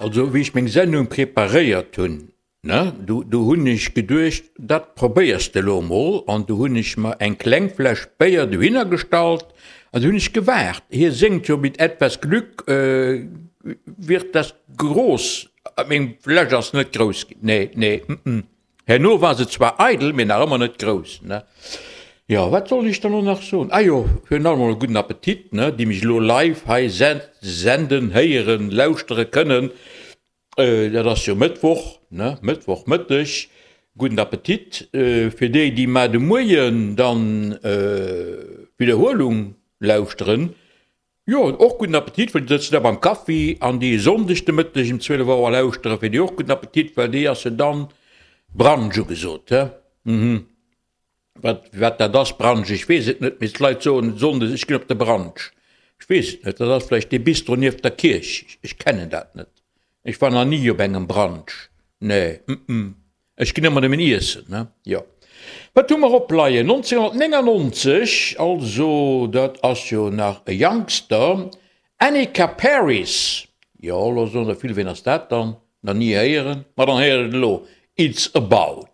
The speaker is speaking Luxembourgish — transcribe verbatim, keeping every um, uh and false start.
Also wéi ech meng Sendung preparéiert hunn, ne, du du hunn ech geduecht, dat probéiers de elo mol, an du hunn ech mer eng kleng Fläsch Béier dohinner gestallt an du hunn ech gewaart. Hie séngt jo, mit etwas Glück wird das groß. Meng Fläsch ass net grouss ginn, nee, nee, mm. Herno war se zwar eidel, mee nach ëmmer net grouss, ne. Jo, wat soll ech dann elo nach soen? Ah jo, virun allem emol e gudden Appetit, ne, déi mech elo live hei senden, héieren, lauschtere kënnen. Dat ass jo Mëttwoch, ne, Mëttwochmëtteg. Gudden Appetit fir déi, déi mar de Moien dann d'Widderhuelung lauschteren. Jo, och gudden Appetit, well déi sëtzen da beim Kaffi, an déi e Sonndeg de Mëtteg um zwielef Auer lauschteren, fir déi och gudden Appetit, well déi ass jo dann Brunch ugesot, he? Mhm. Wat, wat dat ass, Brunch, ech weess et net, mee d'Leit soen Sonndes, ech ginn op de Brunch. Ech weess et net, dat ass vläicht dee Bistro nieft der Kierch, ech kennen dat net. Ech war nach ni op engem Brunch, nee, mm. Ech ginn ëmmer nëmmen iessen, ne? Jo. Wat hu mer opleien? nonzénhunnertnéngannonzeg, also dat ass jo nach e Youngster, Annika Paris. Jo, elo soen der vill, ween ass dat dann? Nach ni héieren? Ma dann héiert et elo, It's about.